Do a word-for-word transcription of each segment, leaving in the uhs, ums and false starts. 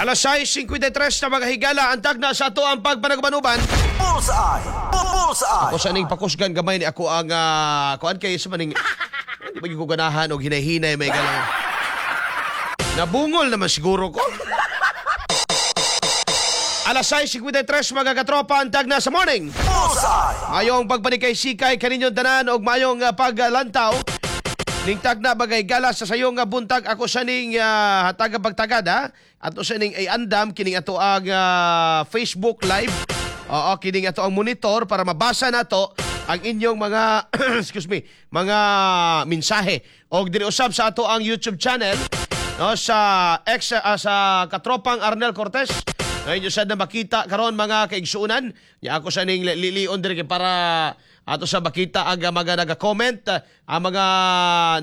Alas sais singkwenta y tres na, mga higala, ang tagna sa ato ang pagpanagubanuban. Bullseye! Bullseye! Ako sa ning pakusgan gamay ni ako ang uh, kuan kay sa maning hindi ba ko ganahan og hinay-hinay, may galang. Nabungol naman siguro ko. Alas sais singkwenta y tres, mga katropa, ang tagna sa morning. Bullseye! Mayong pagpanikay sikay kaninyong tanan og mayong uh, paglantaw. Ning tagna, bagay gala, sa sayong nga buntag, ako sa ning uh, hatag ang pagtagad ha. Ato sa ning ay andam kining ato ang ah, Facebook Live. Oo, kining ato ang monitor para mabasa nato ang inyong mga, excuse me, mga mensahe. Og diri usab sa ato ang YouTube channel, no, sa ex ah, sa Katropang Arnel Cortez. Ngayon nyo sad na makita karon, mga kaigsuunan. Ya ako sa ning lilion diri kay para ato sa makita ang mga naga-comment, ang mga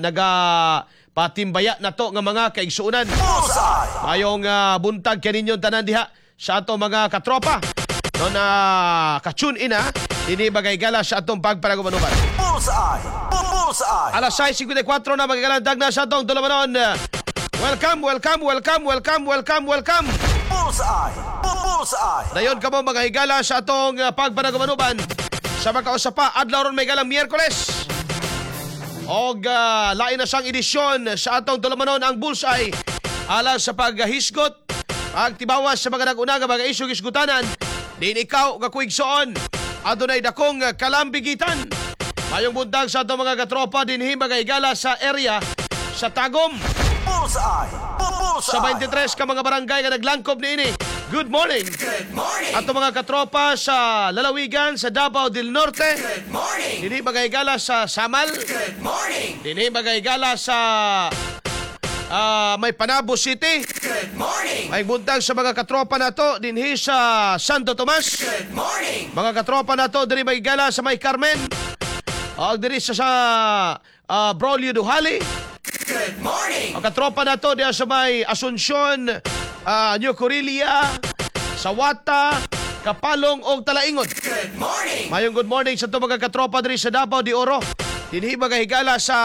naga patimbaya nato nga mga kaigsuunan. Bullseye! Mayong uh, buntag kaninyong tanan diha sa ato, mga katropa. No na ka-tune in ha. Dinhi, bagay gala, sa atong pagpanagubanuban. Bullseye! Bullseye! Alas sais singkwenta y kwatro na, mga galandag na sa atong dulamanon. Welcome, welcome, welcome, welcome, welcome, welcome. Bullseye! Bullseye! Dayon kamo, mga higala, sa atong uh, pagpanagubanuban. Sa makausa pa, adlaw ron, may galang, Miyerkules. Og uh, lain na siyang edisyon sa atong dulamanon, ang Bullseye. Alang sa paghisgot, pagtibawas sa mga nag-una nga mga isyong hisgutanan, din ikaw nga kuigsoon, adunay dakong kalambigitan. Mayong buntag sa atong mga katropa dinhi, mga higala, sa area sa Tagum. Bullseye! Sa Bullseye! twenty-three ka mga barangay nga naglangkob niini. Good morning. Good morning! Ato mga katropa sa lalawigan sa Davao del Norte. Good morning! Dinhi, mga higala, sa Samal. Good morning! Dinhi, mga higala, sa ah, may Panabo City. Good morning! May buntag sa mga katropa nato dinhi sa Santo Tomas. Good morning! Mga katropa nato dinhi, mga higala, sa may Carmen. O diri sa sa ah, Braulio Duhali. Good morning! Ang katropa nato diya sa may Asuncion, ah, New Corilia, Sawata, Kapalong og Talaingod. Good morning! Mayong good morning sa ato mga katropa diri sa Davao de Oro. Dinhi, mga higala, sa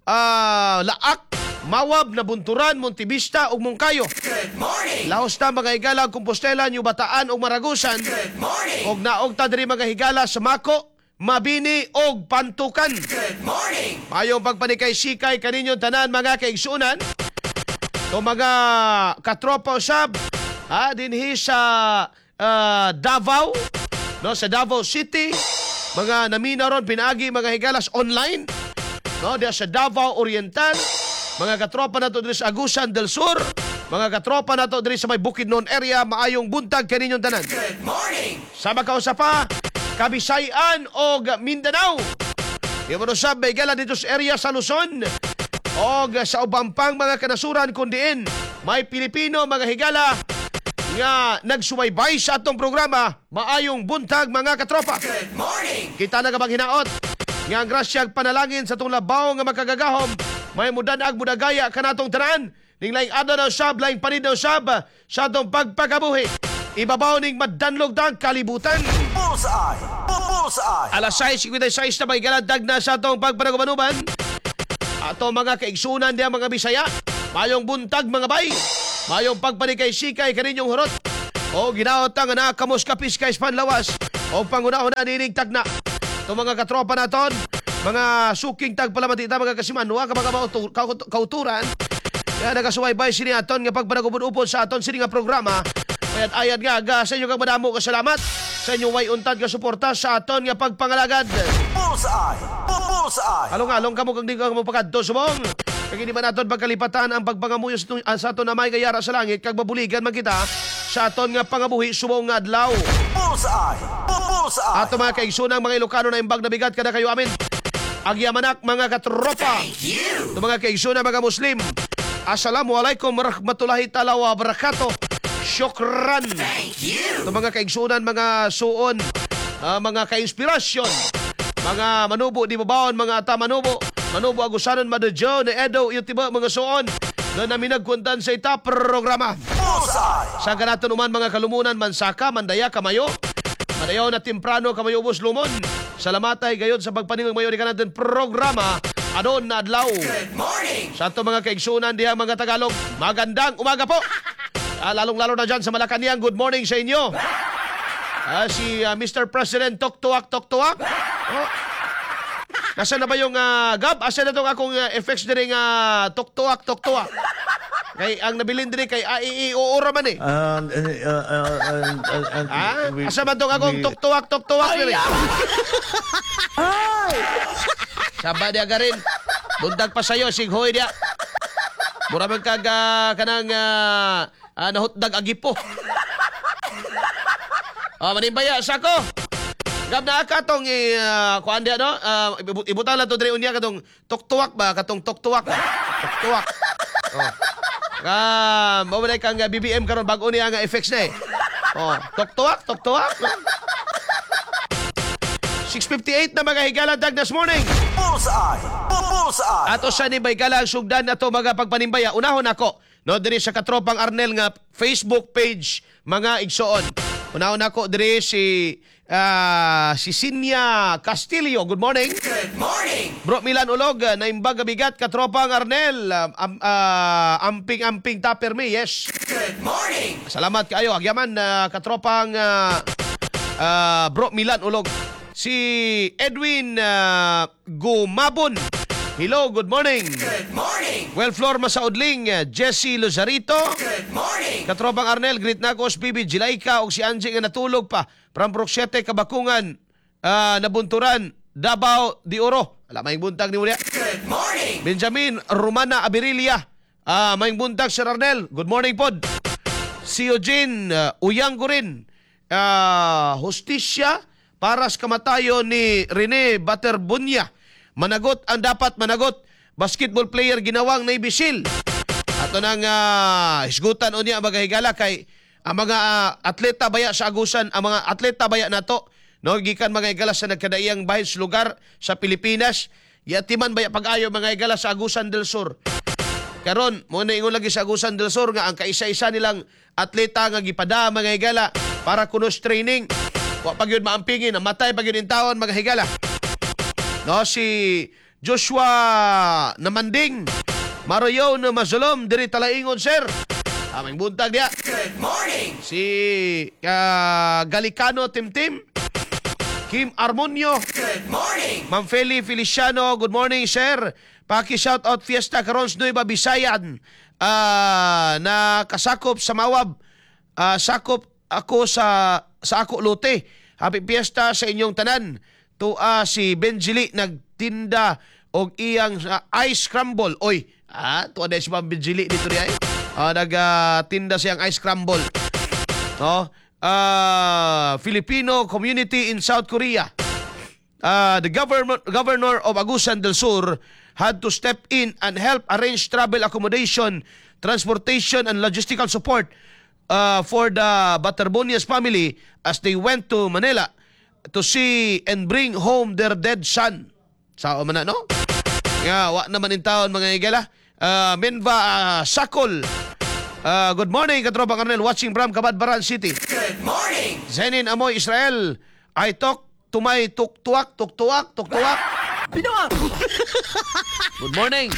ah, Laak, Mawab, Nabunturan, Montevista ug Monkayo. Good morning! Laos ta, mga higala, Compostela, New Bataan ug Maragusan. Good morning! Og naog ta diri, mga higala, sa Mako, Mabini ug Pantukan. Good morning! Mayong pagpanikay sikay kaninyong tanan, mga kaigsunan. To mga katropa usab ha dinhi sa ah, Davao, no, sa Davao City, mga namina ron pinaagi, mga higalas, online, no, diya sa Davao Oriental, mga katropa nato diri sa Agusan del Sur, mga katropa nato diri sa may Bukidnon area, maayong buntag kaninyong tanan. Good morning! Sa makausa pa, Kabisayan og Mindanao. Iwan usab, may gala, dito sa area sa Luzon og sa ubang pang mga kanasuran kung diin may Pilipino, mga higala, nga nagsubaybay sa atong programa. Maayong buntag, mga katropa. Good morning! Kita na kabang hinaot nga ang grasyag panalangin sa atong labaw nga makagagahom may mudanag mudagaya kanatong tanan ning laing adlaw na usab, laing panid na usab sa atong pagpakabuhi. Ibabaw ning madanlog dang kalibutan. Bullseye! Bullseye! Alas sais singkwenta y sais na, may galandag na sa atong pagpanagubanuban. Ato mga kaigsunan diya, mga Bisaya. Mayong buntag, mga bay. Mayong pagpanikay sikay kaninyong hurot. O ginaot nga nakamos kapis kay panlawas. O pangunahon na nining tagna. Ito mga katropa naton, mga suking tagpalamati ta, mga kasimanwa, ka mga mautu- kau- kauturan. Kaya nagasubaybay sini aton nga pagpanagubon-upod sa aton sini nga programa. Kayat ayad nga ga sa inyo kag madamo ka salamat sa inyong way untad nga suporta sa aton nga pagpangalagad. Bullseye! Bullseye! Along-along kamo kag di ka mo pakadto subong. Kag hindi man naton pagkalipatan ang pagpangamuyo sa, itong- ah, sa aton Amay nga yara sa langit kag mabuligan man kita sa aton nga pangabuhi subong nga adlaw. Bullseye! Bullseye! Ato mga kaigsunang mga Ilocano na imbag na bigat kada kayo amin. Agyamanak, mga katropa. You! Ato mga kaigsunang mga Muslim. Assalamualaikum warahmatullahi taala wabarakatuh. Syukran. Thank you! Ito mga kaigsunan, mga suon, ah, mga kainspirasyon, mga manubo di babaon, mga ata manubo, manubo agusanon, madadyo, na edo, yung tiba, mga suon, na namin nagkuntan sa ita programa. Bullseye! Sa ganaton uman mga kalumunan, mansaka, mandaya, kamayo, madayaw na temprano, kamayo ubos lumon. Salamat ay gayon sa pagpaningog mayo ni kanatin programa, anon na adlaw. Good morning! Sa ato mga kaigsunan diha, mga Tagalog, magandang umaga po. Ah, lalong-lalo na dyan sa Malacanang. Good morning sa inyo. Ah, si ah, Mister President Tok Tuak Tok Tuak. Oh. Nasaan na ba yung uh, Gab? Asa na tong akong uh, effects diri nga Tok Tuak Tok Tuak? Kay ang nabilin diri kay A, I, I, O, O ra man eh. Um, uh, uh, uh, uh, uh, Ah, we- asa man tong akong we- Tok Tuak Tok Tuak diri? Saba diya garin. Buntag pa sayo, sighoy diya. Mura man kag ah, kanang uh, uh, nahutdag agipo. Ah, manimbaya sa ko. Gab na ka tong uh, kuan diya no? Uh, ibutang lang to diri unya katong tuktuwak ba, katong tuktuwak. Tuktuwak. Oh. Ah, mao man kang uh, B B M karon, bag-o niya nga effects na eh. Oh, tuktuwak, tuktuwak. six fifty-eight na, mga higala, dag this morning. Bullseye. Bullseye. Ato sa ni Baygala ang sugdan na to, mga pagpanimbaya. Unahon ako no diri sa Katropang Arnel nga Facebook page, mga igsoon. Unahon ako diri si ah, si Sinya Castillo. Good morning. Good morning. Bro Milan Ulog, naimbag bigat, Katropang Arnel. Um, ah, amping-amping ta permi. Yes. Good morning. Salamat kaayo. Agyaman uh, Katropang ah, ah, Bro Milan Ulog. Si Edwin ah, Gumabon. Hello, good morning. Good morning. Well, Flor Masaudling, uh, Jesse Luzarito. Good morning. Katropang Arnel, greet na ko si Bibi Jilaika o si Angie nga natulog pa. From Brok siyete, Kabakungan, ah, Nabunturan, Davao de Oro. Ala, may buntag ni Mulia. Good morning. Benjamin Romana Abirilia. Ah, may buntag, Sir Arnel. Good morning pod. Si Eugene uh, Uyanggurin. Ah, hustisya para sa kamatayon ni Rene Baterbunya. Managot ang dapat managot. Basketball player ginawang naibisil. Ato nang uh, hisgutan unya, mga higala, kay ang mga ah, atleta baya sa Agusan, ang mga atleta baya nato no, gikan, mga higala, sa nagkadaiyang bahin sa lugar sa Pilipinas, yatiman baya pag-ayo, mga higala, sa Agusan del Sur. Karon, mo na ingon lagi sa Agusan del Sur nga ang kaisa-isa nilang atleta nga gipada, mga higala, para kunos training. Wa pa gyud maampingin, namatay pa gyud in taon, mga higala. No, si Joshua Namanding. Maroyo na Mazulom diri Talaingon, sir. Aming buntag diya. Good morning. Si ah, Galicano Timtim. Kim Armonio. Good morning. Ma'am Feli Feliciano, good morning, sir. Paki shout out, fiesta karon sa Nueva Visayan. Ah, na kasakop sa Mawab. Ah, sakop ako sa sa ako lote. Happy fiesta sa inyong tanan. Tua si Benjili nagtinda og iyang ah, ice crumble. Oy, ah, tuwa na si Ma'am Benjili dito diay. Ah, nagtinda siyang ice crumble. No? Ah, Filipino community in South Korea. uh, the government governor of Agusan del Sur had to step in and help arrange travel accommodation, transportation and logistical support uh, for the Baterbonias family as they went to Manila to see and bring home their dead son. Sao man na, no? Nga, wa naman in taon, mga higala. Uh, Menva uh, Sakol. Uh, good morning, Katropa Arnel, watching from Cabadbaran City. Good morning. Zenin Amoy Israel, I talk to my tuktuak, tuktuak, tuktuak. Good morning.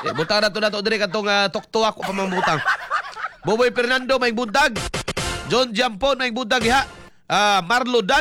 Eh, butang na to na to diri katong uh, tuktuak ko pamambutang. Boboy Fernando, may buntag. John Jampon, may buntag iha. Ah, Marlo Dan